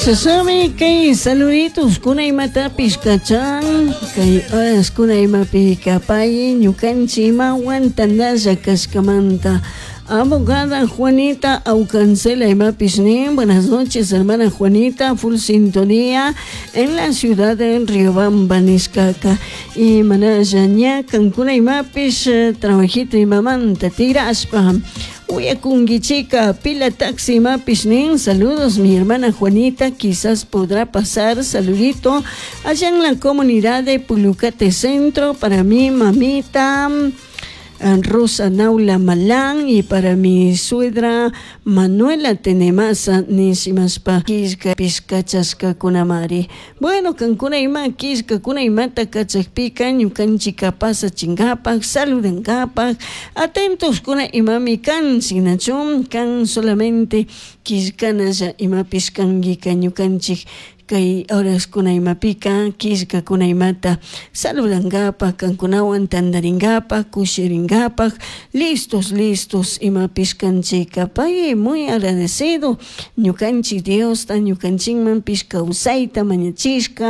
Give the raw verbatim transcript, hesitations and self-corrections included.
Sasami kay saluditos kuna imatapish kachan kay horas kuna imapi kapay ñukanchik imawan tandalla kashkamanta. Abogada Juanita Aucancela imapish nin. Buenas noches, hermana Juanita, full sintonía en la ciudad de Riobamba, nishkaka. Y manalla ña kankuna imapish trabajito imamanta tirashpa uyakunkichika. Pila taxi imapish nin. Saludos, mi hermana Juanita, quizás podrá pasar saludito allá en la comunidad de Pulucate Centro para mi mamita Rosa Naula Malán y para mi suegra Manuela Tenemasa nishimashpa killka pishkachashkakunamari. Bueno, kankuna ima killkakuna imata kachakpika ñukanchika pasachinkapak saludankapak atentos kuna imami kanchik, nachu kan solamente killkanalla imapish kankika ñukanchik kay horaskuna imapika killkakuna imata saludankapak kankunawan tandarinkapak kushirinkapak listos listos imapish kanchika. Pay muy agradecido ñukanchik Diosta ñukanchikmanpish kawsayta mañachishka.